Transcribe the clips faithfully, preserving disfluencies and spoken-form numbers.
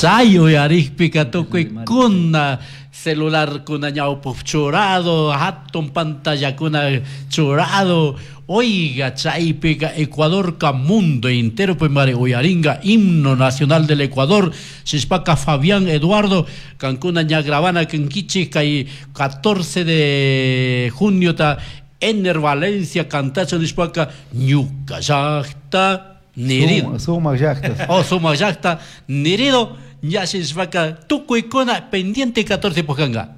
Chay uyarikpika tukuykuna celularkuna ñawpuk churado, hatun pantallakuna churado. Oiga, chaypika Ecuadorka mundo entero mari uyaringa himno nacional del Ecuador. Shishpaka Fabián Eduardo, kankuna ña grabana kankichik kay catorce de junio ta Ener Valencia cantacho nishpaka ñuka llaqta nirido. Sumak llaqta. Oh, sumak llaqta nirido. Ya shishpaka tukuykuna pendiente catorce pujanga.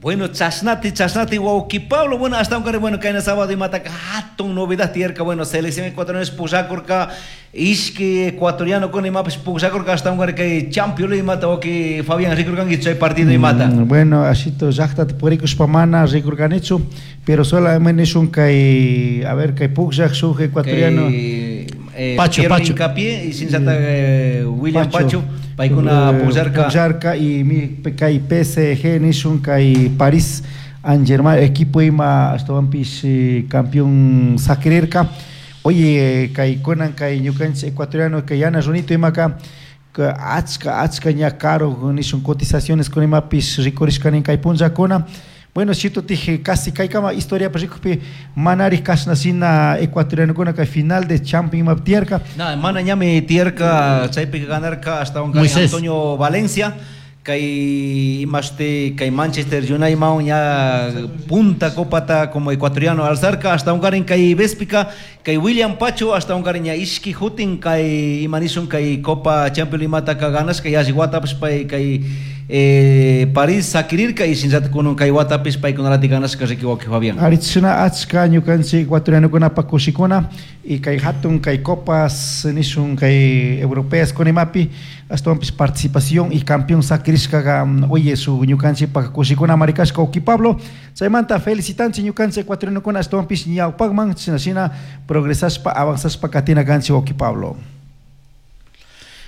Bueno, chasnati, chasnati, wauki Pablo, bueno, hasta un bueno, kayna sábado imataka hatun novedad tiyarka, bueno, selección ecuatoriana pujakurka, ishki ecuatoriano con imapish pujakurka, hasta un kay Champions imata, wauki Fabián rikurkanki chay partido imata. Mm, bueno, ashito llaqtata purikushpa mana rikurkanichu, pero solamente nishun kay, a ver, kay pukllaq shuk ecuatoriano. Kay, eh, Pacho, Piero Pacho. Hincapié y sinchata, eh, William Pacho. Pacho. Paykuna Eh, pukllarka. pukllarka y mi kay P S G nishun kay París Saint-Germain equipo ima ashtawanpish, eh, campeón sakirirka. Oye, kay kunan kay ñukanchik ecuatoriano kay yana runito imaka, ka achka, achka ña caro nishun cotizaciones con imapish rikurishkanin kay punllakuna. Bueno, chito tije casi kay kama historia pa rikupi manari kasna sina ecuatoriano kuna kay final de Champions imap tierka. Na, mana ñami tierka chaypi ganarka hasta un Moisés. Antonio Valencia kay imaste kay Manchester United maun ya punta copata como ecuatoriano alzarka hasta un garin kay Vespika kay William Pacho hasta un garin ya ishki hutin kay imanishun kay Copa Champions imata ka ganas kay yasi watapish pay kay, eh, París sakirirka y sinchata kunun kay watapish paykunalati ganasqa riki wawqi Fabián. Arichuna achka ñukanchik ecuatorianokuna kushikuna y kay hatun kay copas nishun kay europeas kunimapi ashtawanpish participación y campeón sakirishkaqa, oye, su ñukanchikpak kushikuna marikashka wawqi Pablo. Chaymanta felicitanchik ñukanchik ecuatorianokuna ashtawanpish ñawpakman shina shina progresashpa avanzashpa katina kanchik wawqi Pablo.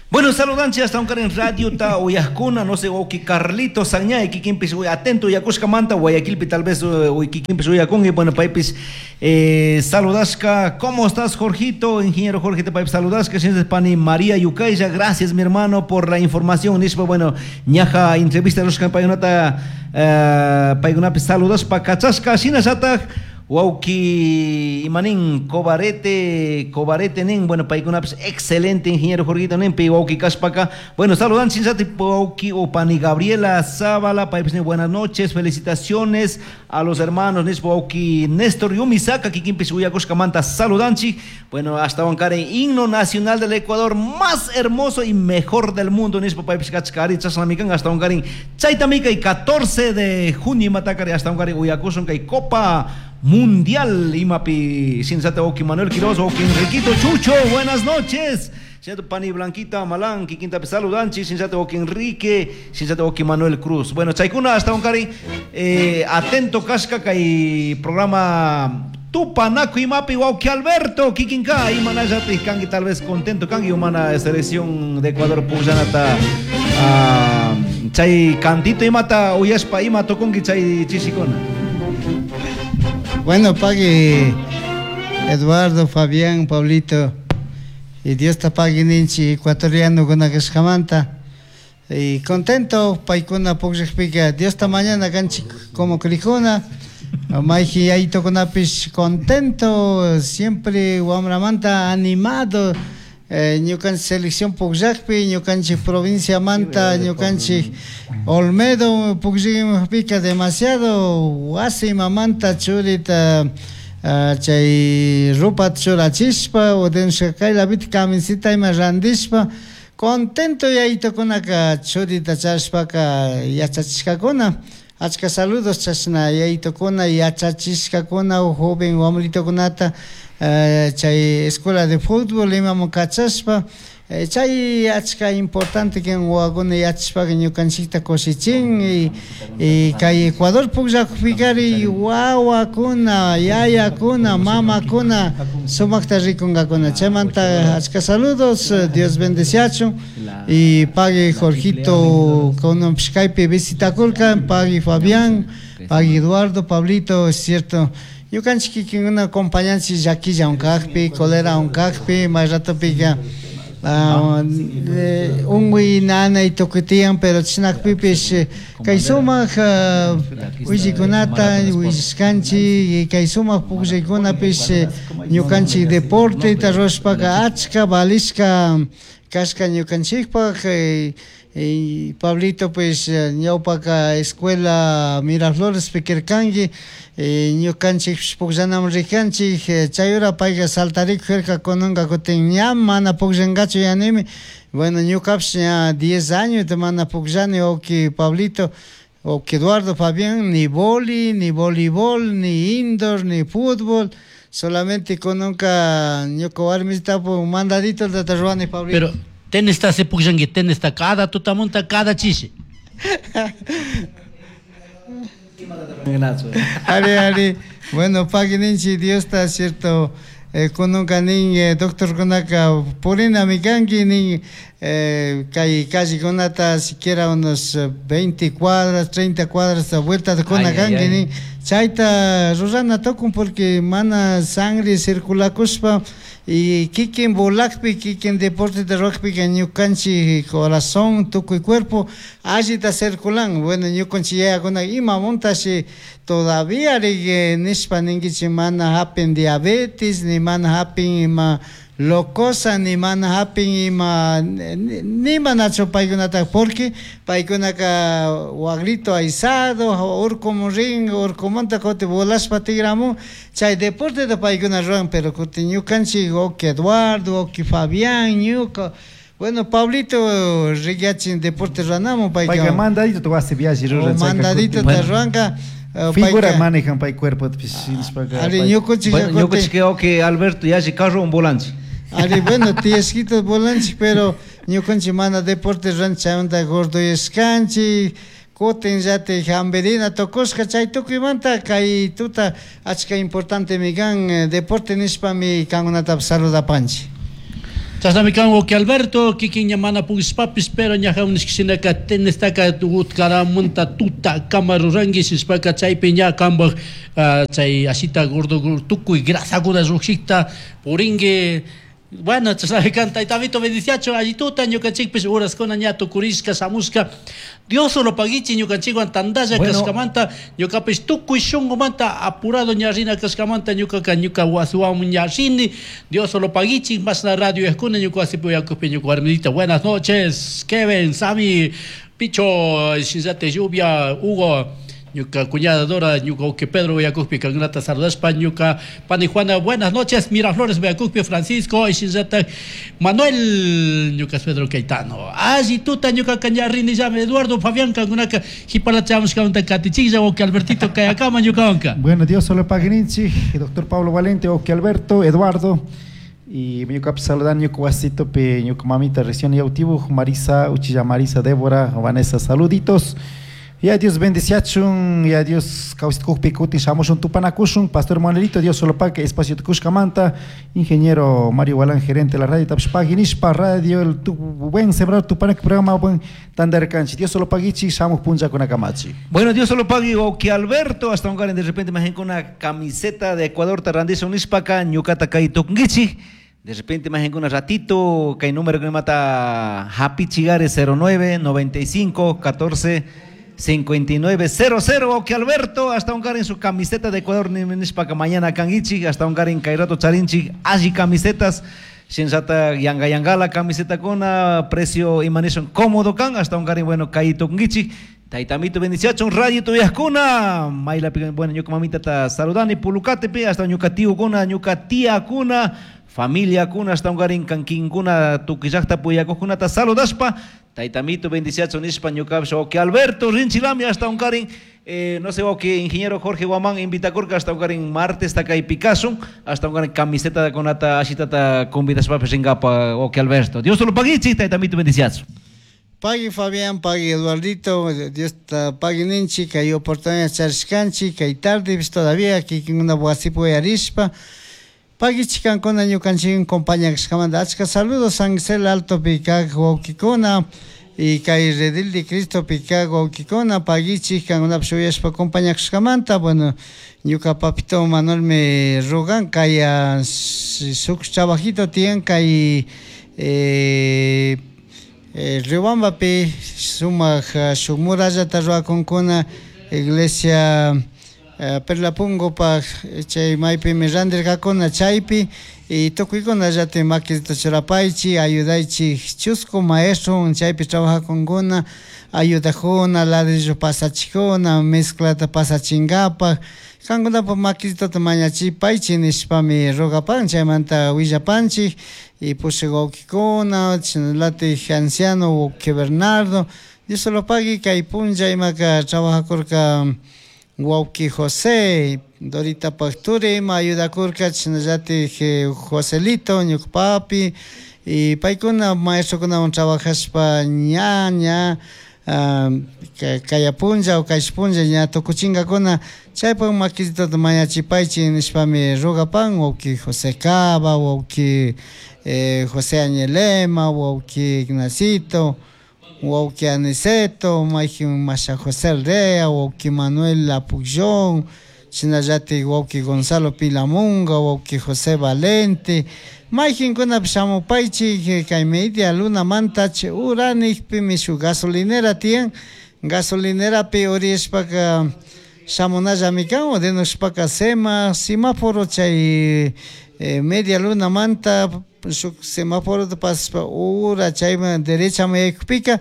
Bueno, saludanchi hasta un en radio ta uyajkuna, no sé, wawqi Carlito Sañay, kikinpis uy atento uyakushka manta, Guayaquilpi tal vez, uy, kikinpis uyakun, y bueno, paypis, eh, saludashka, ¿cómo estás, Jorgito? Ingeniero Jorge, te paypis saludashka, señores Pani María Yucaya, gracias, mi hermano, por la información, nispa, bueno, ñaja entrevista los payunata, eh, paykunapis saludashpa, kachashka, shinallataj, wawqi imanin Cobarete, Cobarete nin, bueno, paykunapis excelente ingeniero Jorgito nin, pi wawqi kashpaka. Bueno, saludan sinchati wawqi o pani Gabriela Zavala, paypis nin, buenas noches, felicitaciones a los hermanos nispa wawqi Néstor Yumisaka, kikinpis uyakushkamanta saludanchik. Bueno, hasta Huancaray, himno nacional del Ecuador más hermoso y mejor del mundo nispa paypis kachkari chasnamikan hasta Huancaray, chaytamika y catorce de junio matakari hasta Huancaray uyakushun kay Copa Mundial imapi sinchata wawqi Manuel Quiroz, wawqi Enriquito Chucho, buenas noches. Sinchata Pani Blanquita Malán, kikinta saludanchi, sinchata wawqi Enrique, sinchata wawqi Manuel Cruz. Bueno, chaykuna hasta Huancaray, eh, atento kashka kay programa Tupanaku imapi wawqi Alberto, kikinka imanallati kanki tal vez contento kanki humana selección de Ecuador pujanata, ah, chay cantito imata uyashpa ima tokunki chay chishikuna. Bueno, pagui Eduardo, Fabián, Pablito, y Dios te pague ninchi ecuatoriano con akashkamanta. Y contento, paikuna pukllakpika, Dios ta mañana kanchi como crijuna, mayji yaytokunapish contento, siempre wamramanta animado, eh, ñukanchik selección pukllakpi, ñukanchik provincia manta, ñukanchik Olmedo pukllakpika demasiado wasi mamanta churita, ah, chay rupa churachishpa, odensha kaylapita camisita ima randishpa, contento yaytokunaka churita chashpaka yachachishkakuna. Achka saludos chashna yaytokuna yachachishkakuna joven wamritokunata, eh, chay escuela de fútbol imamun kachashpa, eh, chay achka importante que wawakuna yachashpaka ñukanchikta kushichin y, y kay Ecuador pukllakupikari wawakuna yayakuna mamakuna sumakta rikunkakuna. Chaymanta achka saludos, Dios bendeciachun y pague Jorgito con kaypi visitakurka, pague Fabián, pague Eduardo, Pablito, es cierto. Ñukanchik kikinkuna acompañanchik llakilla unkakpi, cólera unkakpi, may ratopika, Ah, ungui nanay tukutiyan pero chinakpipish kay sumaq willikunata willishkanchik kay sumaq pukllaykunapish ñukanchik deporteta rurashpaka achka valishka kashka ñukanchikpaq. Y Pablito pues ñawpaka escuela Miraflores pikirkanki ñukanchik pukllanaman rikanchik chay hora payka saltarikujarka kunanka kutin ña mana pukllankachu yanimi. Bueno, ñukapish ña diez años mana pukllani wawki Pablito, wawki Eduardo, Fabián, ni boli, ni voleibol, ni indoor, ni fútbol. Solamente kunanka ñuka warmita mandadito tata ruwani Pablito. Pero tenista se pukllanki, tenista cada tutamunta, cada chishi. Ari, ari. Bueno, pagui ninchi Diosta, cierto, eh, kununka nin eh, doctor kunaka purina mikanki nin eh, kay callekunata siquiera unos veinte cuadras, treinta cuadras de vuelta de kunakanki nin chayta rurana tukun porque mana sangre circulakushpa y kikin volakpi, kikin deporte de rugby que ñukanchi corazón, tukuy cuerpo allita circulan. Bueno, ñukanchi yayakuna ima muntashi todavía rigue nishpa ninkichi mana hapin diabetes, ni mana hapin ima locosa, ni mana hapin ima ni manachu paykunata porque paykunaka wagrito aisado, urkumun rin, urkumanta kuti volashpa tigramun chay deporte de paykuna ruran, pero kuti ñukanchik wawki Eduardo, wawki Fabián, ñuka. Bueno, Pablito rikyachin deporte ranamun payka. Payka mandadito tu wasi viaje ruran. Mandadito ta ruranka. Figura manejan pay cuerpo Ari ñukanchik ñukanchik wawki Alberto yalli carro un volanchi. Ari, bueno, tiesquito volanchi, pero ñukanchik mana deporte ruran chaymanta gordoyashkanchik, kutin llati hamberina tukushka chay tukuymanta kay tuta achka importante mi kan deporte nishpami kankunatapish saludapanchik. Chashnami kan wawki Alberto, kikin ña mana pukllashpapis, pero ñaja unishkishinaka tenistaka utkaramanta tuta kama ruranki shishpaka chaypi ña kanpak chay ashita gordo tukuy grasakuna llukshikta purinki. Bueno, chashnami kan taytamito bendiciacho allituta ñukanchikpish uraskuna ña tukurishka shamushka. Dios solo paguichi ñukanchikwan tandalla kashkamanta ñukapish tukuy shunkumanta apurado ña rina kashkamanta ñukaka ñuka wasiwan ña rini. Dios solo paguichi mashna radio eskuna ñuka wasipi uyakupi ñuka warmita. Buenas noches, Kevin, Sami, Picho, Shinzate Lluvia, Hugo, ñuka cuñada Dora, ñuka wawki Pedro uyakupi kankunata saludashpa, ñuka pani Juana, buenas noches, Miraflores uyakupi Francisco, Shinzata Manuel, ñuka Pedro Caetano. Alli tuta ñuka ña rini llame Eduardo Fabián kankunaka jipalachamushkamanta katichiklla wawki Albertito kayakama ñukawanka. Bueno, Dios solo pague ninchi, doctor Pablo Valente, wawki Alberto, Eduardo, y ñuka saludan ñuka wasito pe ñuka mamita recién yautibu, Marisa, Uchilla Marisa, Débora, Vanessa, saluditos. Ya Dios bendiciachun, ya Dios kawsitkuqpi kutin shamushun tupanakushun, Pastor Manuelito, Dios solo pague espacio tukushkamanta, ingeniero Mario Walán, gerente de la radio Tapshpagui, nishpa radio, el tu, buen sembrar tupanak programa, buen tandarkanchi, Dios solo paguichi, shamuj puncha kunakamachi. Bueno, Dios solo pague, que Alberto, hasta un de repente más con una camiseta de Ecuador, tarrandizo nishpaka, ñukata kay tukungichi. De repente más en un ratito, que hay número que me mata Happy Chigare cero nueve, noventa y cinco, catorce, cincuenta y nueve, cero cero, que Alberto, hasta un en su camiseta de Ecuador, ni nishpaka mañana kangichi, hasta un en Kairato Charinchi, allí camisetas, Shinsata yanga yangala camiseta con precio y manison cómodo kan, hasta un bueno kaito kungichi. Taitamito bendiciachon, radio tuyascuna, maila bueno, ñuka mamita ta saludani, pulucate pe, hasta ñuka tío kuna, ñuka tía kuna, familia kuna, hasta un garin kankin kuna, tukillakta puyakujuna ta saludaspa, taitamito bendiciachon nispa ñuka que Alberto Rinchilami, hasta un garin, eh, no sé, o que ingeniero Jorge Guamán invita corca, hasta un garin martes ta kai Picasso, hasta un garin camiseta de conata, ashitata convidaspa pesingapa, o que Alberto. Dios te lo pague, taitamito bendiciachon. Pagui Fabián, pagui Eduardito, Dios te pagui ninchi, que hay oportunidad charishkanchi, que hay tarde, pues todavía, que hay una wasipu arispa. Pagui chikankuna ñukanchik compañía kashkamanta. Achka saludos, San Gisel Alto Picac, wawkikuna, y kay Redil de Cristo Picac, wawkikuna, pagui chikankuna shuyashpa compañía kashkamanta. Bueno, ñuka papito Manuel me rogan, kay suk trabajito tienen, kay eh, eh, Riobambapi sumak shuk murallata rurakunkuna iglesia eh, Perlapungopaj chay maypimi randirkakuna chaypi y tukuykunallati makita churapaychik ayudaychik chusku maestro chaypi trabajakunkuna ayudajuna ladrillo pasachikuna mezclata pasachinkapak kankunapaj makitata mañachipaychik nishpami rogapan chaymanta willapanchik y pushak wawkikuna chaylatik anciano wawki Bernardo Dios solo pagui kay punlla imaka trabajakurka wawki José Dorita Pacturi ima ayudakurka chaynallatik Joselito ñuka papi y paykuna maestrokunawan trabajashpa ña ña kaya punlla o kaysh punlla ña tukuchinkakuna chaypak makitata mañachipaychik nishpami rogapan wawki José Cava wawki eh, José Añelema wawki Ignacito wawki Aniceto mayjin Masha José Rea wawki Manuel Apullón shinallatik wawki Gonzalo Pilamunga wawki José Valente mayjinkunapish shamupaychik kay media lunamanta chay uranikpimi shuk gasolinera tiyan gasolinerapi uriyashpaka shamunallami kan o denushpaka sema semáforo chay eh, media lunamanta shuk semáforota pasashpa ura chayman derechaman yaykupika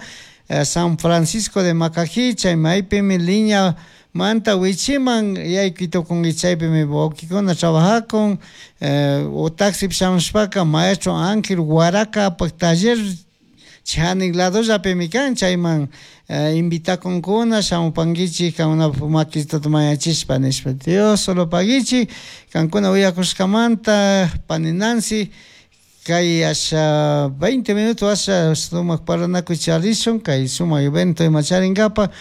eh, San Francisco de Macají chay maypimi línea manta wichiman yaykuy tukunki chaypimi wawkikuna trabajakun eh, o taxipi shamushpaka maestro Ángel Huaracapak taller chanik ladollapimi kan chayman eh, invitakunkuna shamupankichik kankunapak makitata mañachishpa nishpa Dios solo paguichik kankuna uyakushkamanta pani Nancy kay asha veinte minutos asha sumak parlanakuy charishun kay sumak evento ima charinkapak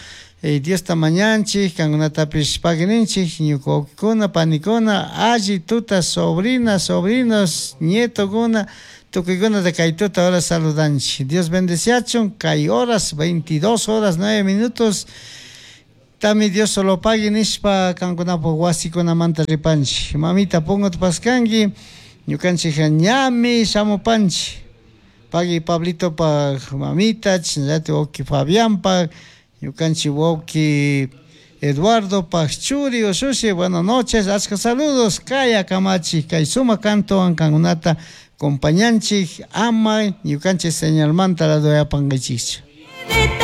eh, Diosta mañanchik kankunatapish paguininchik ñuka wawkikuna panikuna alli tuta sobrinas sobrinos nietokuna tukuykunata kay tuta hora saludanchik Dios bendeciachun kay horas veintidós horas nueve minutos tami Dios solo pagui nishpa kankunapak wasikunamanta ripanchik mamita punguta paskanki ñukanchik ñami shamupanchik pagui Pablitopak mamita chayllatik wawki Fabianpak ñukanchik wawki Eduardo Pachuri Usushi, buenas noches, achka saludos, kaya kamachi, kay suma canto kankunata compañanchik ama ñukanchik señalmanta ladoyapankichikchu.